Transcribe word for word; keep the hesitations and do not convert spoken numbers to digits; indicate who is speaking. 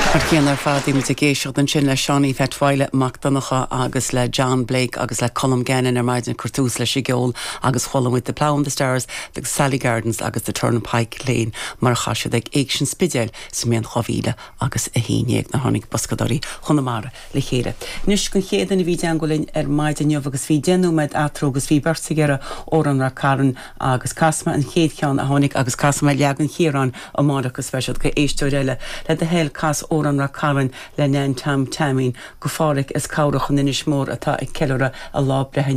Speaker 1: Mar chéanna ar fad bhí muid ag éisteacht ansin le Seánie Pheait Mac Donncha agus le John Blake agus le Colm Gannon ar maidin ag cur tús leis an gceol agus chuala muid The Plough and the Stars, the Sally Gardens agus the Turnpike Lane mar a chas siad ag Éigse an Spidéil sa mbliain dhá mhíle agus a haon déag nuair a tháinig Boscadóirí Chonamara le chéile. Anois an chéad duine a bhí i dteagmháil linn ar maidin inniu agus bhí deich nóiméad eatarthu agus bhí beirt ag iarraidh amhrán Rath Cairn agus casfaidh mé an chéad cheann a tháinig agus casfaidh mé leagan Chiaráin amárach go speisialta go éisteoir eile le do thoil cas amhrán Rath Cairn le Nan Tom Taimín go Pháraic as Cabhrach in Inis Mór atá ag ceiliúradh a lá breithe.